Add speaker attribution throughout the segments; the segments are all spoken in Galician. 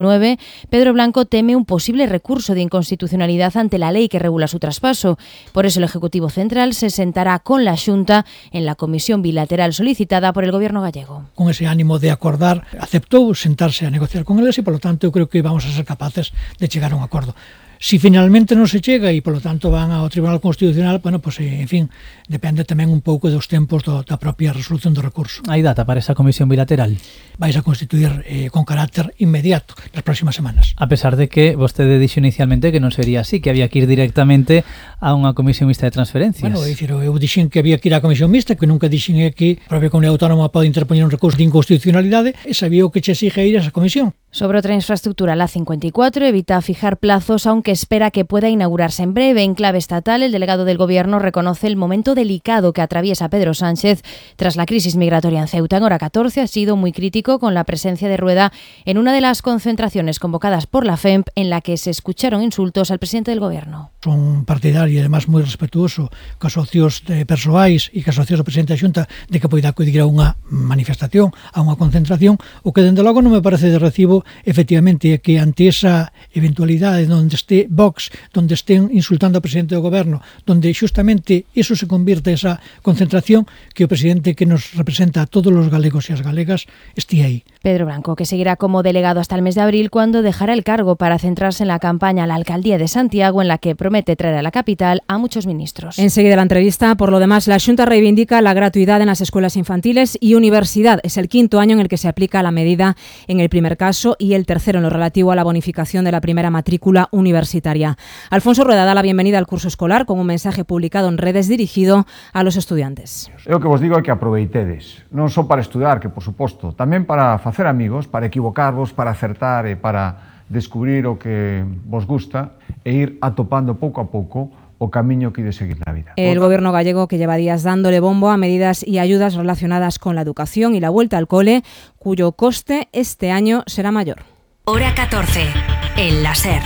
Speaker 1: 9, Pedro Blanco teme un posible recurso de inconstitucionalidad ante la ley que regula su traspaso. Por eso el Ejecutivo Central se sentará con la Xunta en la comisión bilateral solicitada por el Gobierno gallego.
Speaker 2: Con ese ánimo de acordar, aceptou sentarse a negociar con eles e, polo tanto, eu creo que vamos a ser capaces de chegar a un acordo. Si finalmente non se chega e, polo tanto, van ao Tribunal Constitucional, bueno, pues, en fin, depende tamén un pouco dos tempos da propia resolución do recurso.
Speaker 3: Hai data para esa comisión bilateral?
Speaker 2: Vais a constituir con carácter inmediato nas próximas semanas.
Speaker 3: A pesar de que vostede dixo inicialmente que non sería así, que había que ir directamente a unha comisión mixta de transferencias.
Speaker 2: Bueno, eu dixen que había que ir á comisión mixta, que nunca dixen que a propia comunidade autónoma pode interpoñer un recurso de inconstitucionalidade, e sabía o que che exige ir a esa comisión.
Speaker 1: Sobre otra infraestructura, la 54 evita fijar plazos, aunque espera que pueda inaugurarse en breve. En clave estatal, el delegado del Gobierno reconoce el momento delicado que atraviesa Pedro Sánchez tras la crisis migratoria en Ceuta. En hora 14 ha sido muy crítico con la presencia de Rueda en una de las concentraciones convocadas por la FEMP, en la que se escucharon insultos al presidente del Gobierno.
Speaker 2: Son partidario e, además, moi respetuoso cos socios persoais e cos socios do presidente da Xunta de que poida acudir a unha manifestación, a unha concentración. O que, dende logo, non me parece de recibo, efectivamente, é que ante esa eventualidade onde este Vox, onde estén insultando ao presidente do Goberno, onde xustamente iso se convirte esa concentración, que o presidente que nos representa a todos os galegos e as galegas esté aí.
Speaker 1: Pedro Blanco, que seguirá como delegado hasta el mes de abril, cuando dejará el cargo para centrarse en la campaña a la alcaldía de Santiago, en la que promete traer a la capital a muchos ministros.
Speaker 4: Enseguida la entrevista. Por lo demás, la Xunta reivindica la gratuidad en las escuelas infantiles y universidad. Es el quinto año en el que se aplica la medida en el primer caso y el tercero en lo relativo a la bonificación de la primera matrícula universitaria. Alfonso Rueda da la bienvenida al curso escolar con un mensaje publicado en redes dirigido a los estudiantes.
Speaker 5: Eu que vos digo é que aproveitedes, non só para estudar, que por suposto, tamén para facer amigos, para equivocarvos, para acertar e para descubrir o que vos gusta e ir atopando pouco a pouco o camiño que de seguir na vida.
Speaker 4: El Gobierno gallego, que lleva días dándole bombo a medidas y ayudas relacionadas con la educación y la vuelta al cole, cuyo coste este año será mayor.
Speaker 6: Hora 14, el láser.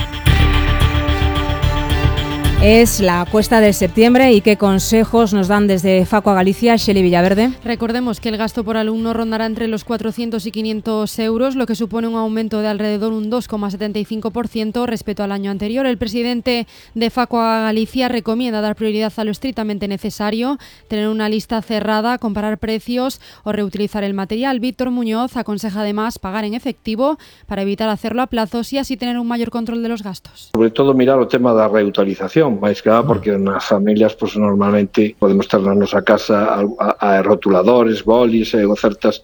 Speaker 4: Es la cuesta de septiembre y qué consejos nos dan desde Facua Galicia, Xeli Villaverde.
Speaker 7: Recordemos que el gasto por alumno rondará entre los 400 y 500 euros, lo que supone un aumento de alrededor un 2,75% respecto al año anterior. El presidente de Facua Galicia recomienda dar prioridad a lo estrictamente necesario, tener una lista cerrada, comparar precios o reutilizar el material. Víctor Muñoz aconseja además pagar en efectivo para evitar hacerlo a plazos y así tener un mayor control de los gastos.
Speaker 8: Sobre todo mirar o tema da reutilización, máis que nada porque nas familias pues, normalmente podemos ter na nosa casa a rotuladores, bolis e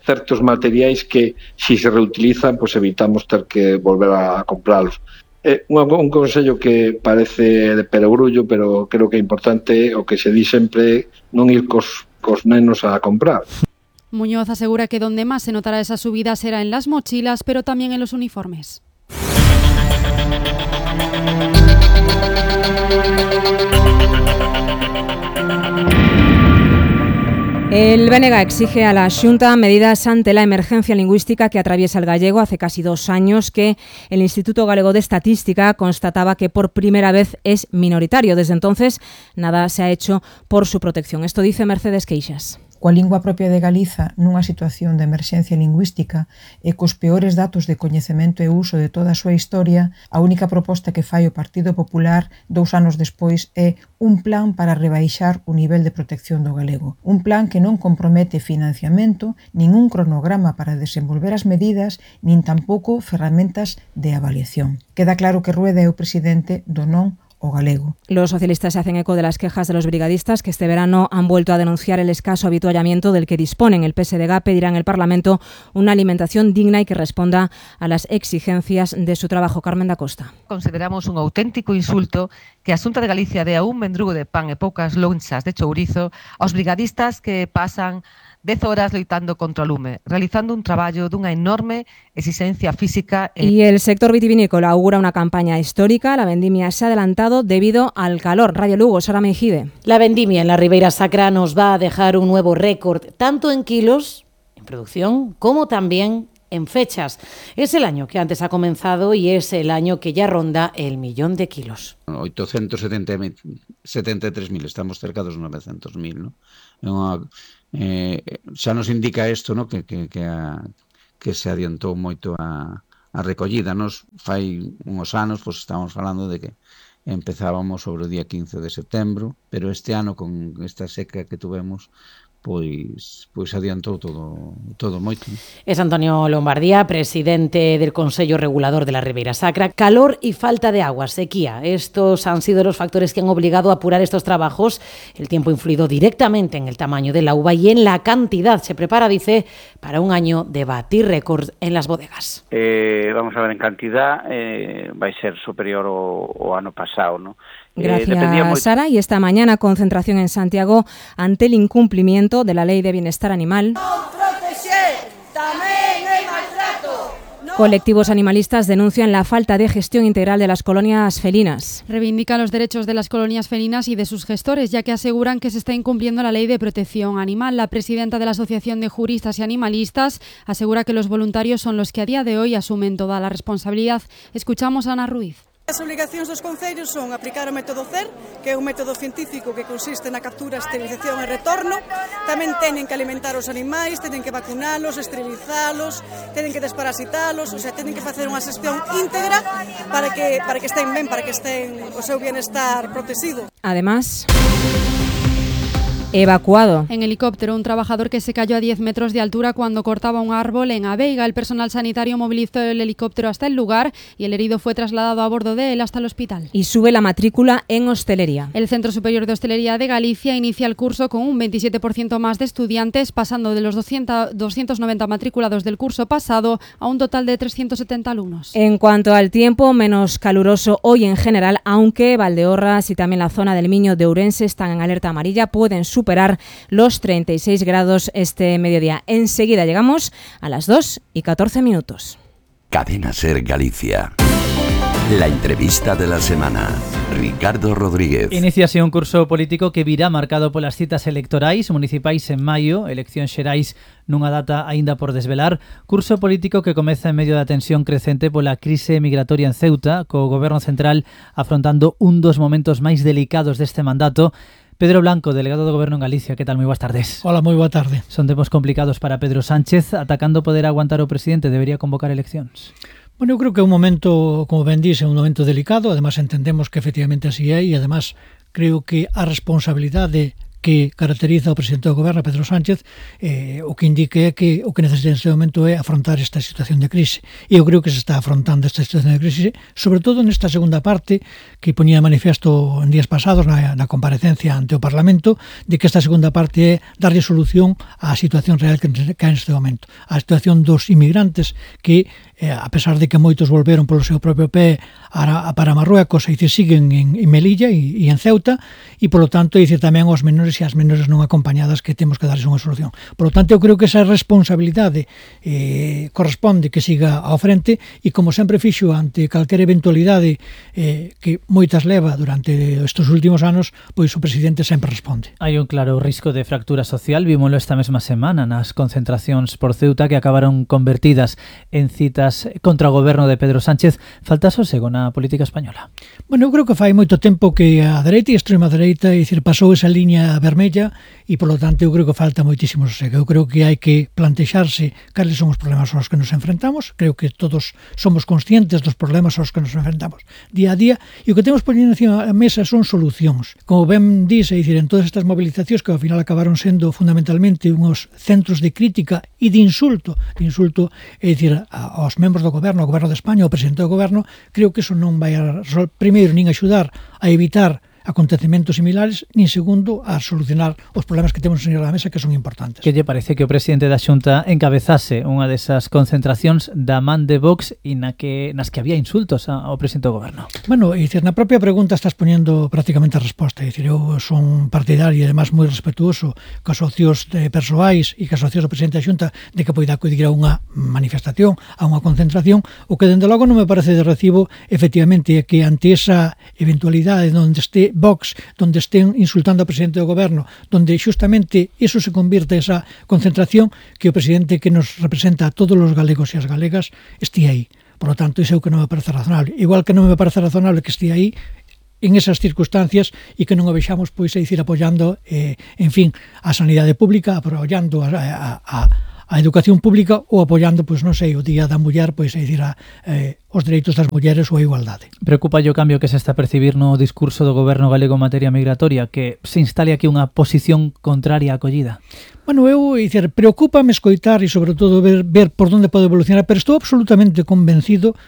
Speaker 8: certos materiais que si se reutilizan pues, evitamos ter que volver a comprarlos. Un consello que parece de perogrullo, pero creo que é importante o que se di sempre non ir cos nenos a comprar.
Speaker 7: Muñoz asegura que donde más se notará esa subida será en las mochilas, pero también en los uniformes.
Speaker 4: El BNG exige a la Xunta medidas ante la emergencia lingüística que atraviesa el gallego. Hace casi 2 años que el Instituto Galego de Estadística constataba que por primera vez es minoritario. Desde entonces, nada se ha hecho por su protección. Esto dice Mercedes Queixas.
Speaker 9: Coa lingua propia de Galiza nunha situación de emerxencia lingüística e cos peores datos de coñecemento e uso de toda a súa historia, a única proposta que fai o Partido Popular 2 anos despois é un plan para rebaixar o nivel de protección do galego. Un plan que non compromete financiamento, nin un cronograma para desenvolver as medidas, nin tampouco ferramentas de avaliación. Queda claro que Rueda é o presidente do non o galego.
Speaker 4: Los socialistas se hacen eco de las quejas de los brigadistas que este verano han vuelto a denunciar el escaso avituallamiento del que disponen. El PSDG pedirá en el Parlamento una alimentación digna y que responda a las exigencias de su trabajo. Carmen da Costa.
Speaker 10: Consideramos un auténtico insulto que a Xunta de Galicia dea un mendrugo de pan e poucas lonchas de chourizo aos brigadistas que pasan 10 horas loitando contra o lume, realizando un traballo dunha enorme exigencia física.
Speaker 4: Y el sector vitivinícola augura una campaña histórica. La vendimia se ha adelantado debido al calor. Radio Lugo, Sara Mejide.
Speaker 11: La vendimia en la Ribeira Sacra nos va a dejar un nuevo récord, tanto en kilos, en producción, como también en fechas. Es el año que antes ha comenzado y es el año que ya ronda el 1.000.000 de kilos.
Speaker 12: 873.000, estamos cerca dos 900.000, ¿no? Xa nos indica isto, ¿no? que se adiantou moito a a recollida. Nos fai uns anos, pois estamos falando de que empezábamos sobre o día 15 de setembro, pero este ano con esta seca que tuvemos, pois adiantou todo moito.
Speaker 11: Es Antonio Lombardía, presidente del Consello Regulador de la Ribeira Sacra. Calor y falta de agua, sequía. Estos han sido los factores que han obligado a apurar estos trabajos. El tiempo ha influido directamente en el tamaño de la uva y en la cantidad. Se prepara, dice, para un año de batir récord en las bodegas.
Speaker 13: Vamos a ver, en cantidad vai ser superior ao ano pasado, ¿no?
Speaker 4: Gracias, Sara. Y esta mañana concentración en Santiago ante el incumplimiento de la Ley de Bienestar Animal. Colectivos animalistas denuncian la falta de gestión integral de las colonias felinas.
Speaker 7: Reivindican los derechos de las colonias felinas y de sus gestores, ya que aseguran que se está incumpliendo la Ley de Protección Animal. La presidenta de la Asociación de Juristas y Animalistas asegura que los voluntarios son los que a día de hoy asumen toda la responsabilidad. Escuchamos a Ana Ruiz.
Speaker 14: As obrigacións dos concellos son aplicar o método CER, que é un método científico que consiste na captura, esterilización e retorno. Tamén teñen que alimentar os animais, teñen que vacunalos, esterilizalos, teñen que desparasitalos, o sea, teñen que facer unha xestión íntegra para que estén ben, para que estén o seu bienestar protegido.
Speaker 4: Además, evacuado
Speaker 7: en helicóptero un trabajador que se cayó a 10 metros de altura cuando cortaba un árbol en Aveiga. El personal sanitario movilizó el helicóptero hasta el lugar y el herido fue trasladado a bordo de él hasta el hospital.
Speaker 4: Y sube la matrícula en hostelería.
Speaker 7: El Centro Superior de Hostelería de Galicia inicia el curso con un 27% más de estudiantes, pasando de los 290 matriculados del curso pasado a un total de 370 alumnos.
Speaker 4: En cuanto al tiempo, menos caluroso hoy en general, aunque Valdeorras y también la zona del Miño de Ourense están en alerta amarilla, pueden superar los 36 grados este mediodía. Enseguida llegamos a las 2:14.
Speaker 15: Cadena Ser Galicia. La entrevista de la semana. Ricardo Rodríguez.
Speaker 3: Iníciase un curso político que virá marcado polas citas electorais municipais en maio, eleccións xerais nunha data aínda por desvelar, curso político que comeza en medio da tensión crecente pola crise migratoria en Ceuta, co goberno central afrontando un dos momentos máis delicados deste mandato. Pedro Blanco, delegado do Goberno en Galicia, que tal? Moi boas tardes.
Speaker 2: Hola, moi boa tarde.
Speaker 3: Son tempos complicados para Pedro Sánchez. Atacando poder aguantar o presidente, debería convocar eleccións?
Speaker 2: Bueno, eu creo que é un momento, como ben dixe, un momento delicado. Además, entendemos que efectivamente así é, e además creo que a responsabilidade que caracteriza o presidente do goberno, Pedro Sánchez, o que indique é que o que necesita neste momento é afrontar esta situación de crise. E eu creo que se está afrontando esta situación de crise, sobre todo nesta segunda parte que poñía de manifesto en días pasados na comparecencia ante o Parlamento, de que esta segunda parte é darlle solución á situación real que hai neste momento. A situación dos inmigrantes que, a pesar de que moitos volveron polo seu propio pé para Marruecos, e siguen en Melilla e en Ceuta, e polo tanto tamén aos menores e as menores non acompañadas que temos que darles unha solución. Por lo tanto, eu creo que esa responsabilidade corresponde que siga ao frente, e como sempre fixo ante calquera eventualidade que moitas leva durante estes últimos anos, pois o presidente sempre responde.
Speaker 3: Hai un claro risco de fractura social, vímolo esta mesma semana nas concentracións por Ceuta que acabaron convertidas en citas contra o goberno de Pedro Sánchez. Falta sosego na política española?
Speaker 2: Bueno, eu creo que fai moito tempo que a dereita e a extrema dereita pasou esa liña vermella, e polo tanto eu creo que falta moitísimo sosego. Eu creo que hai que plantexarse cales son os problemas aos que nos enfrentamos. Creo que todos somos conscientes dos problemas aos que nos enfrentamos día a día, e o que temos poñendo encima da mesa son solucións. Como ben dice, en todas estas movilizacións que ao final acabaron sendo fundamentalmente uns centros de crítica e de insulto, aos membros do goberno, ao goberno de España, ao presidente do goberno, creo que eso non vai primeiro nin axudar a evitar acontecementos similares, nin segundo a solucionar os problemas que temos en la mesa, que son importantes.
Speaker 3: Que lle parece que o presidente da Xunta encabezase unha desas concentracións da man de Vox e nas que había insultos ao presidente do goberno?
Speaker 2: Bueno, na propia pregunta estás poniendo prácticamente a resposta. Eu son partidario e además moi respetuoso cos socios persoais e cos socios do presidente da Xunta de que poida acudir a unha manifestación, a unha concentración. O que dende logo non me parece de recibo, efectivamente, é que ante esa eventualidade onde este Vox, donde estén insultando ao presidente do goberno, donde xustamente eso se convirte esa concentración, que o presidente que nos representa a todos os galegos e as galegas esté aí. Por lo tanto, iso é o que non me parece razonable. Igual que non me parece razonable que esté aí en esas circunstancias e que non o vexamos apoiando, a sanidade pública, apoiando a a educación pública ou apoiando, pois non sei, o Día da Muller, pois é dicir, os dereitos das mulleres ou a igualdade.
Speaker 3: Preocupa o cambio que se está a percibir no discurso do goberno galego en materia migratoria, que se instale aquí unha posición contraria á acollida?
Speaker 2: Bueno, eu, dicir, preocúpame escoitar e sobre todo ver por onde pode evolucionar, pero estou absolutamente convencido,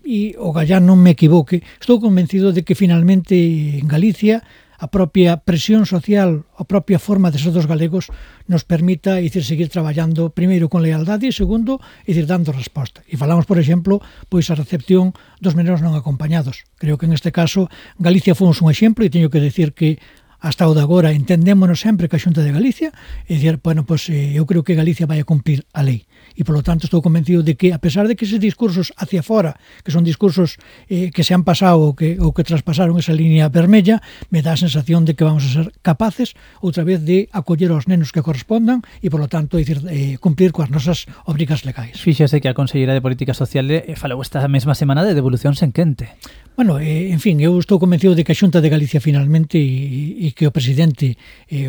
Speaker 2: e o Gallán non me equivoque, estou convencido de que finalmente en Galicia a propia presión social, a propia forma de ser dos galegos nos permita, dicir, seguir traballando primeiro con lealdade e segundo, dicir, dando resposta. E falamos, por exemplo, pois a recepción dos menores non acompañados. Creo que en este caso Galicia fomos un exemplo e teño que decir que hasta o de agora entendémonos sempre que a Xunta de Galicia, e dicir, bueno, pois eu creo que Galicia vai a cumprir a lei. E, polo tanto, estou convencido de que, a pesar de que eses discursos hacia fora, que son discursos que se han pasado ou que traspasaron esa línea vermella, me dá a sensación de que vamos a ser capaces, outra vez, de acoller aos nenos que correspondan e, polo tanto, dicir, cumplir coas nosas obrigas legais.
Speaker 3: Fíxese que a Conselleira de Política Social falou esta mesma semana de devolucións en quente.
Speaker 2: Bueno, en fin, eu estou convencido de que a Xunta de Galicia finalmente e que o presidente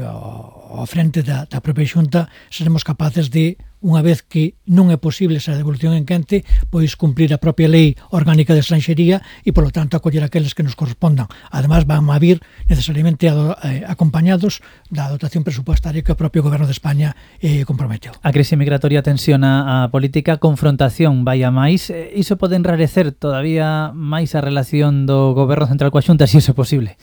Speaker 2: ao frente da propia Xunta seremos capaces de, unha vez que non é posible esa devolución en quente, pois cumprir a propia lei orgánica de estranxería e, polo tanto, acoller aqueles que nos correspondan. Además, van a vir necesariamente acompañados da dotación presupuestaria que o propio Goberno de España comprometeu.
Speaker 3: A crise migratoria tensiona a política, confrontación vai a máis. Iso pode enrarecer todavía máis a relación do Goberno Central coa Xunta, se iso é posible?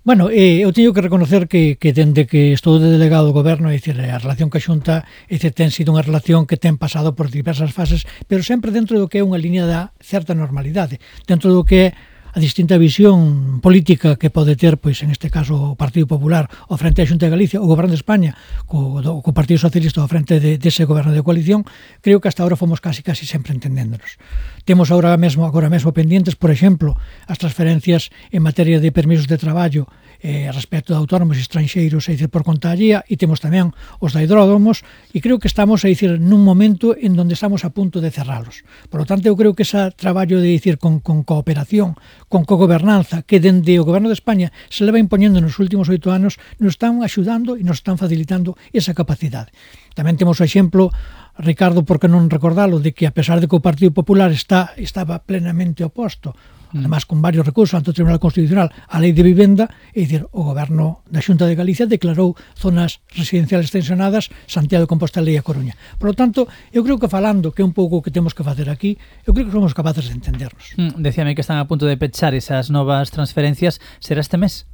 Speaker 2: Bueno, eu teño que reconocer que dende que estou de delegado do goberno, é dicir, a relación ca Xunta ten sido unha relación que ten pasado por diversas fases, pero sempre dentro do que é unha línea da certa normalidade, dentro do que é a distinta visión política que pode ter, pois en este caso, o Partido Popular ao frente da Xunta de Galicia, o Goberno de España co Partido Socialista ao frente dese goberno de coalición. Creo que hasta ahora fomos casi sempre entendéndonos. Temos agora mesmo pendientes, por exemplo, as transferencias en materia de permisos de traballo respecto de autónomos e estranxeiros, é dicir, por conta allía, e temos tamén os da hidródomos, e creo que estamos, é dicir, nun momento en donde estamos a punto de cerralos. Por lo tanto, eu creo que ese traballo de dicir con cooperación, con cogobernanza, que dende o Goberno de España se leva impoñendo nos últimos 8 anos, nos están axudando e nos están facilitando esa capacidade. Tamén temos o exemplo, Ricardo, por que non recordalo, de que a pesar de que o Partido Popular estaba plenamente oposto, además con varios recursos ante o Tribunal Constitucional, a Lei de Vivenda, é dicir, o Goberno da Xunta de Galicia declarou zonas residenciales tensionadas Santiago de Compostela e a Coruña. Por lo tanto, eu creo que falando, que é un pouco o que temos que facer aquí, eu creo que somos capaces de entendernos.
Speaker 3: Decíame que están a punto de pechar esas novas transferencias. Será este mes?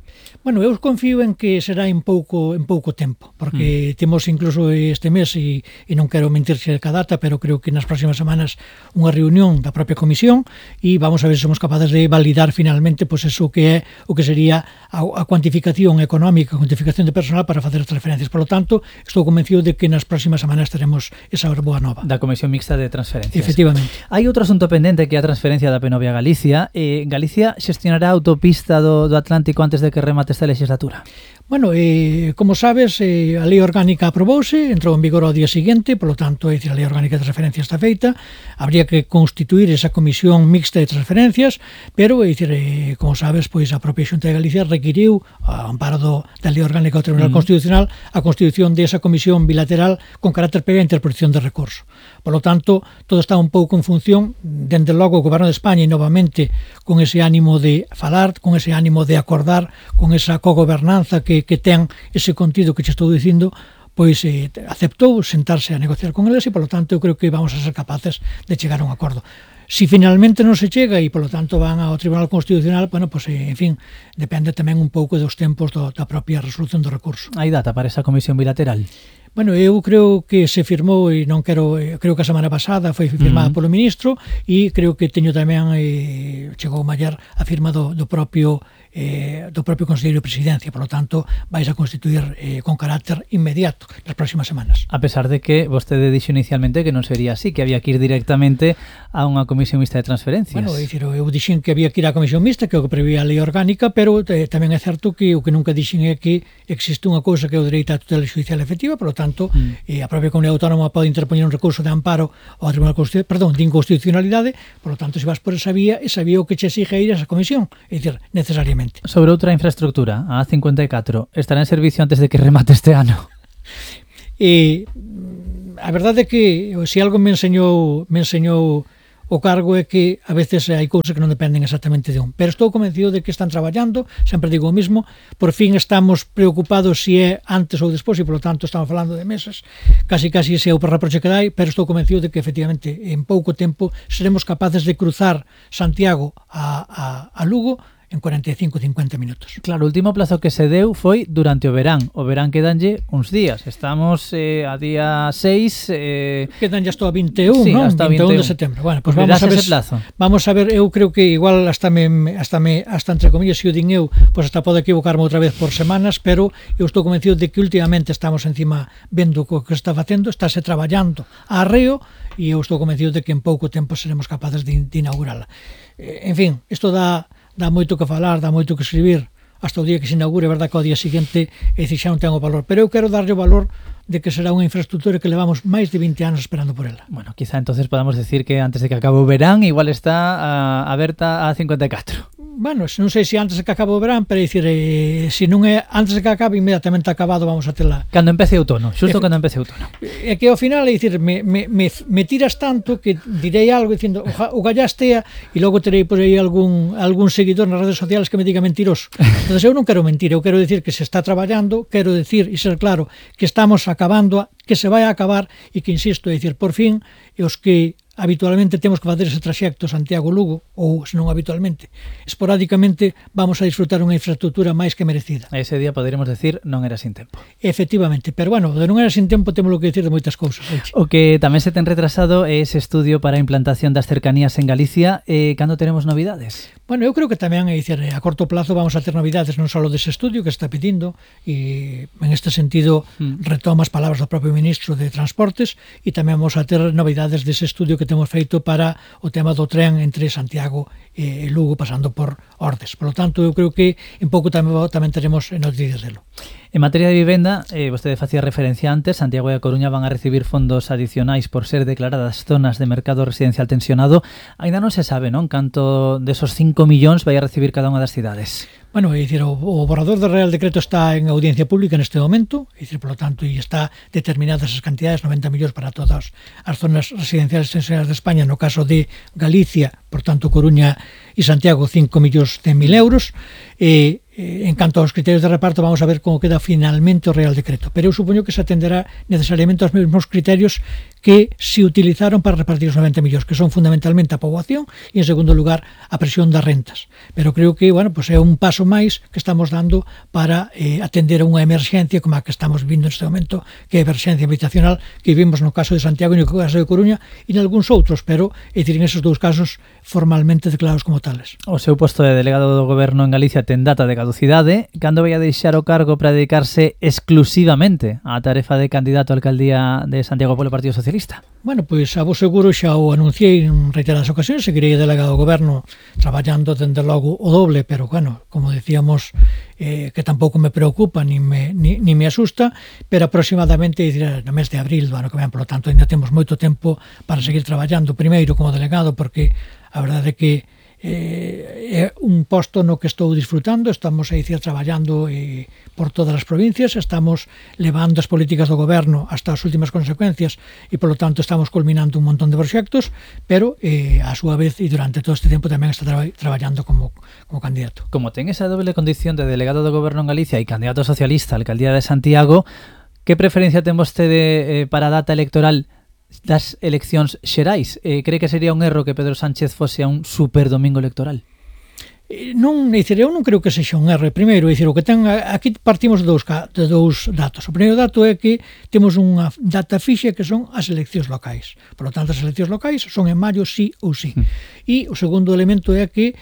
Speaker 2: Bueno, eu confío en que será en pouco tempo, porque temos incluso este mes, e non quero mentir cerca a data, pero creo que nas próximas semanas unha reunión da propia comisión e vamos a ver se somos capaces de validar finalmente pois eso que é o que sería a cuantificación económica, a cuantificación de personal para facer as transferencias. Por lo tanto, estou convencido de que nas próximas semanas teremos esa boa nova.
Speaker 3: Da Comisión Mixta de Transferencias.
Speaker 2: Efectivamente.
Speaker 3: Hai outro asunto pendente que é a transferencia da Penovia a Galicia. Galicia xestionará a autopista do Atlántico antes de que remate esta legislatura.
Speaker 2: Bueno, como sabes, a lei orgánica aprobouse, entrou en vigor ao día seguinte, polo tanto, a lei orgánica de transferencia está feita, habría que constituir esa comisión mixta de transferencias, pero, como sabes, pois a propia Xunta de Galicia requiriu, a amparo da lei orgánica do Tribunal Constitucional, a constitución desa comisión bilateral con carácter previa a interposición de recurso. Por lo tanto, todo está un pouco en función, dende logo, o Goberno de España, e novamente, con ese ánimo de falar, con ese ánimo de acordar, con esa cogobernanza que ten ese contido que che estou dicindo, pois aceptou sentarse a negociar con eles e, polo tanto, eu creo que vamos a ser capaces de chegar a un acordo. Si finalmente non se chega e, polo tanto, van ao Tribunal Constitucional, bueno, pois, en fin, depende tamén un pouco dos tempos da propia resolución do recurso.
Speaker 3: Hai data para esa comisión bilateral?
Speaker 2: Bueno, eu creo que se firmou, e non quero, creo que a semana pasada foi firmada polo ministro, e creo que teño tamén, chegou ayer a firma do propio Conselleiro de Presidencia, por lo tanto, vais a constituir con carácter inmediato nas próximas semanas.
Speaker 3: A pesar de que vostede dixo inicialmente que non sería así, que había que ir directamente a unha comisión mixta de transferencias.
Speaker 2: Bueno, eu dixen que había que ir á comisión mixta, que é o que prevía a lei orgánica, pero tamén é certo que o que nunca dixen é que existe unha cousa que é o dereito á tutela judicial efectiva, por lo tanto, a propia Comunidade Autónoma pode interpoñer un recurso de amparo ao Tribunal Constitucional, de inconstitucionalidade, por lo tanto, se vas por esa vía o que che exige ir a esa comisión, é dicir, necesariamente.
Speaker 3: Sobre outra infraestructura, a A54, estará en servicio antes de que remate este ano?
Speaker 2: A verdade é que se algo me enseñou o cargo é que a veces hai cousas que non dependen exactamente de un, pero estou convencido de que están traballando, sempre digo o mismo, por fin estamos preocupados se é antes ou despois e polo tanto estamos falando de meses, casi ese é o reproche que dai, pero estou convencido de que efectivamente en pouco tempo seremos capaces de cruzar Santiago a Lugo en 45-50 minutos.
Speaker 3: Claro, o último plazo que se deu foi durante o verán. O verán quedanlle uns días. Estamos a día 6...
Speaker 2: Quedanlle hasta o 21,
Speaker 3: sí,
Speaker 2: non?
Speaker 3: Hasta
Speaker 2: 21 de setembro. Bueno, pues
Speaker 3: vamos a ver ese plazo.
Speaker 2: Vamos a ver, eu creo que igual hasta entre comillas, se o din eu, pues hasta pode equivocarme outra vez por semanas, pero eu estou convencido de que últimamente estamos encima vendo o que está facendo, estáse traballando a arreo, e eu estou convencido de que en pouco tempo seremos capaces de inaugurala. En fin, isto dá moito que falar, dá moito que escribir hasta o día que se inaugure, verdad que ao día seguinte xa non ten o valor, pero eu quero darlle o valor de que será unha infraestructura que levamos máis de 20 anos esperando por ela.
Speaker 3: Bueno, quizá entonces podamos decir que antes de que acabe o verán igual está aberta a 54.
Speaker 2: Bueno, non sei se antes de que acabe o verán, pero dicir, se non é antes de que acabe, inmediatamente acabado vamos a tela.
Speaker 3: Cando empece outono, xusto cando empece outono.
Speaker 2: É que ao final, é dicir, me tiras tanto que direi algo dicindo, o gallastea, e logo terei por aí algún seguidor nas redes sociales que me diga mentiroso. Entón, eu non quero mentir, eu quero decir que se está traballando, quero decir e ser claro que estamos acabando, que se vai a acabar e que, insisto, é dicir, por fin, os que habitualmente temos que facer ese traxecto Santiago-Lugo, ou se non habitualmente, esporádicamente vamos a disfrutar unha infraestructura máis que merecida.
Speaker 3: A ese día poderemos decir non era sin tempo.
Speaker 2: Efectivamente, pero bueno, de non era sin tempo temos que decir de moitas cousas.
Speaker 3: O que tamén se ten retrasado é ese estudio para a implantación das cercanías en Galicia. Cando teremos novidades?
Speaker 2: Bueno, eu creo que tamén é dicir, a corto plazo vamos a ter novidades non só dese estudio que está pedindo, e en este sentido retoma as palabras do propio ministro de Transportes, e tamén vamos a ter novidades dese estudio que temos feito para o tema do tren entre Santiago e Lugo pasando por Ordes. Por lo tanto, eu creo que en pouco tamén teremos noticias delo.
Speaker 3: En materia de vivenda, vostede facía referencia antes, Santiago e a Coruña van a recibir fondos adicionais por ser declaradas zonas de mercado residencial tensionado. Ainda non se sabe, non? Canto desos 5 millóns vai a recibir cada unha das cidades.
Speaker 2: Bueno, é dicir, o borrador do Real Decreto está en audiencia pública neste momento, é dicir, por lo tanto, e está determinadas as cantidades, 90 millóns para todas as zonas residenciales tensionadas de España, no caso de Galicia, por tanto, Coruña e Santiago, 5 millóns de 1.000 euros, en canto aos criterios de reparto vamos a ver como queda finalmente o Real Decreto, pero eu supoño que se atenderá necesariamente aos mesmos criterios que se utilizaron para repartir os 90 millóns, que son fundamentalmente a poboación e en segundo lugar a presión das rentas, pero creo que, bueno, pues é un paso máis que estamos dando para atender a unha emerxencia como a que estamos vivindo neste momento, que é a emerxencia habitacional que vivimos no caso de Santiago e no caso de Coruña e en algúns outros, pero é dicir, en esos dous casos formalmente declarados como tales.
Speaker 3: O seu posto de delegado do Goberno en Galicia ten data de caducidade. Cando vai a deixar o cargo para dedicarse exclusivamente á tarefa de candidato á alcaldía de Santiago polo Partido Socialista?
Speaker 2: Bueno, pois a vos seguro xa o anunciei en reiteradas ocasións, seguirei delegado do Goberno traballando dende logo o doble, pero bueno, como decíamos, que tampouco me preocupa ni me asusta, pero aproximadamente no mes de abril do ano que ven, por lo tanto, ainda temos moito tempo para seguir traballando, primeiro como delegado, porque a verdade é que é un posto no que estou disfrutando, estamos a dicir traballando por todas as provincias, estamos levando as políticas do goberno hasta as últimas consecuencias e polo tanto estamos culminando un montón de proxectos, pero a súa vez e durante todo este tempo tamén está traballando como candidato.
Speaker 3: Como ten esa doble condición de delegado do goberno en Galicia e candidato socialista á alcaldía de Santiago, que preferencia ten vostede para a data electoral das eleccións xerais? Cree que sería un erro que Pedro Sánchez fose a un super domingo electoral?
Speaker 2: Non, eu non creo que sexa un erro. Primeiro, o que ten aquí partimos de dous datos. O primeiro dato é que temos unha data fixa que son as eleccións locais. Por lo tanto, as eleccións locais son en maio sí ou sí. E o segundo elemento é que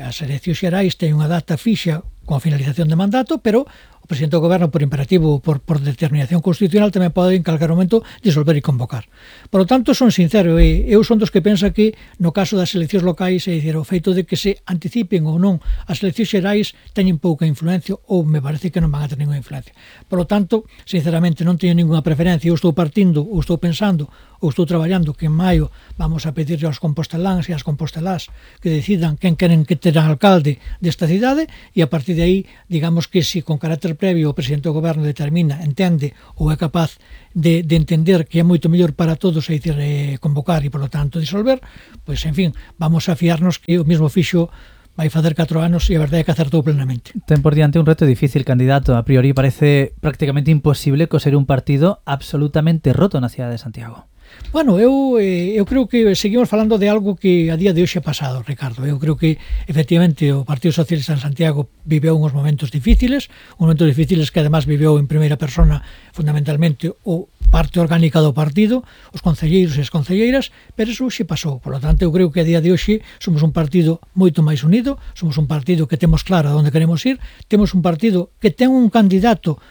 Speaker 2: as eleccións xerais teñen unha data fixa con finalización de mandato, pero o presidente do goberno, por imperativo, por determinación constitucional, tamén pode en calquer momento disolver e convocar. Por lo tanto, son sincero, eu son dos que pensa que no caso das eleccións locais, é dicir, o feito de que se anticipen ou non as eleccións xerais teñen pouca influencia ou me parece que non van a ter ninguna influencia. Por lo tanto, sinceramente, non teño ninguna preferencia, eu estou partindo ou estou pensando ou estou traballando que en maio vamos a pedirle aos composteláns e ás compostelás que decidan quen queren que terá alcalde desta cidade, e a partir de aí, digamos que se con carácter previo o presidente do goberno determina, entende ou é capaz de entender que é moito mellor para todos, é dicir, convocar e, polo tanto, disolver, pois, en fin, vamos a fiarnos que o mesmo fixo vai facer 4 anos e a verdade é que acertou plenamente.
Speaker 3: Ten por diante un reto difícil, candidato. A priori parece prácticamente imposible coser un partido absolutamente roto na cidade de Santiago.
Speaker 2: Bueno, eu creo que seguimos falando de algo que a día de hoxe é pasado, Ricardo. Eu creo que, efectivamente, o Partido Socialista en Santiago viveu uns momentos difíciles que además viveu en primeira persona fundamentalmente o parte orgánica do partido, os concelleiros e as concelleiras, pero eso hoxe pasou. Por lo tanto, eu creo que a día de hoxe somos un partido moito máis unido, somos un partido que temos claro a onde queremos ir, temos un partido que ten un candidato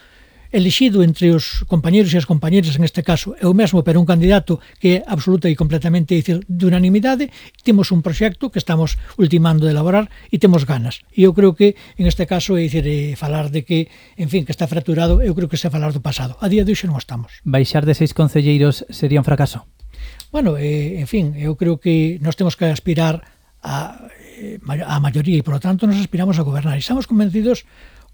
Speaker 2: elixido entre os compañeros e as compañeras, en este caso é o mesmo, pero un candidato que é absoluta e completamente, dicir, de unanimidade. Temos un proxecto que estamos ultimando de elaborar e temos ganas. E eu creo que, en este caso, é dicir, falar de que, en fin, que está fracturado, eu creo que está a falar do pasado. A día de hoxe non estamos.
Speaker 3: Baixar de 6 concelleiros sería un fracaso?
Speaker 2: Bueno, en fin, eu creo que nós temos que aspirar a maioría e, por lo tanto, nos aspiramos a gobernar. E estamos convencidos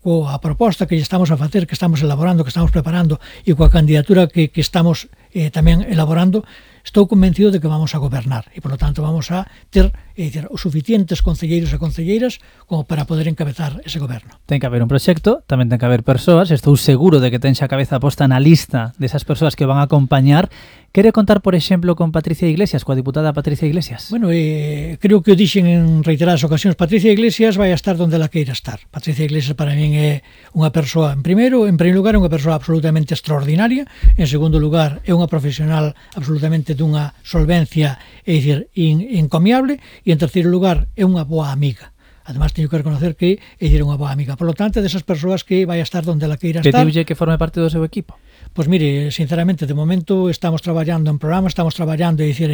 Speaker 2: coa proposta que estamos a facer, que estamos elaborando, que estamos preparando e coa candidatura que estamos tamén elaborando, estou convencido de que vamos a gobernar e, por lo tanto, vamos a ter os suficientes concelleiros e concelleiras como para poder encabezar ese goberno.
Speaker 3: Ten que haber un proxecto, tamén ten que haber persoas, estou seguro de que ten xa a cabeza posta na lista desas persoas que van a acompañar. Quere contar, por exemplo, con Patricia Iglesias, coa diputada Patricia Iglesias?
Speaker 2: Bueno, creo que o dixen en reiteradas ocasións, Patricia Iglesias vai a estar donde ela queira estar. Patricia Iglesias para min é unha persoa, en primeiro lugar, é unha persoa absolutamente extraordinaria, en segundo lugar, é unha profesional absolutamente dunha solvencia, é dicir, encomiable, e en terceiro lugar, é unha boa amiga. Además, teño que reconocer que é dicir, unha boa amiga. Por lo tanto, desas persoas que vai a estar donde ela queira estar.
Speaker 3: Pediulle que forme parte do seu equipo?
Speaker 2: Pois mire, sinceramente, de momento estamos traballando en programa, estamos traballando, é dicir,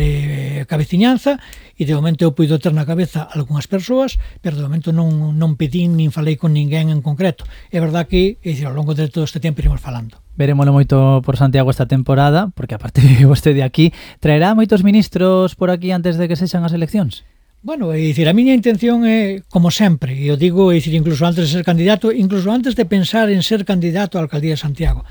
Speaker 2: cabeciñanza, e de momento eu puido ter na cabeza algunhas persoas, pero de momento non pedín nin falei con ninguén en concreto. É verdad que, é dicir, ao longo de todo este tempo iremos falando.
Speaker 3: Verémolo moito por Santiago esta temporada, porque aparte de vostede aquí, traerá moitos ministros por aquí antes de que sexan as eleccións?
Speaker 2: Bueno, é dicir, a miña intención é, como sempre, e eu digo, é dicir, incluso antes de ser candidato, incluso antes de pensar en ser candidato á alcaldía de Santiago,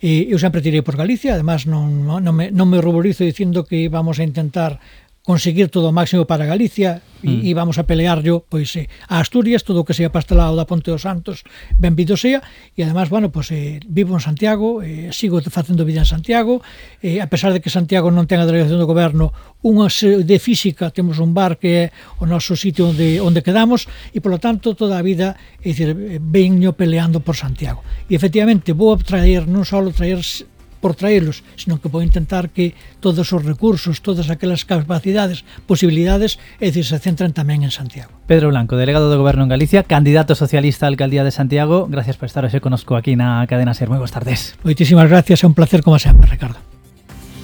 Speaker 2: eu sempre tirei por Galicia, además non me ruborizo dicindo que vamos a intentar conseguir todo o máximo para Galicia e vamos a pelear yo pois a Asturias, todo o que sea pastelado da Ponte dos Santos, benvido sea, e además, bueno, pois vivo en Santiago, sigo facendo vida en Santiago, a pesar de que Santiago non ten a delegación do goberno, unha de física, temos un bar que é o noso sitio onde quedamos, e polo tanto toda a vida, é dicir, veño peleando por Santiago. E efectivamente vou traer, non só traer por traerlos, sino que vou intentar que todos os recursos, todas aquelas capacidades, posibilidades, é dicir, se centren tamén en Santiago.
Speaker 3: Pedro Blanco, delegado do Goberno en Galicia, candidato socialista á alcaldía de Santiago, gracias por estar hoxe conosco aquí na cadena SER. Moi boas tardes.
Speaker 2: Moitísimas gracias, é un placer como sempre, Ricardo.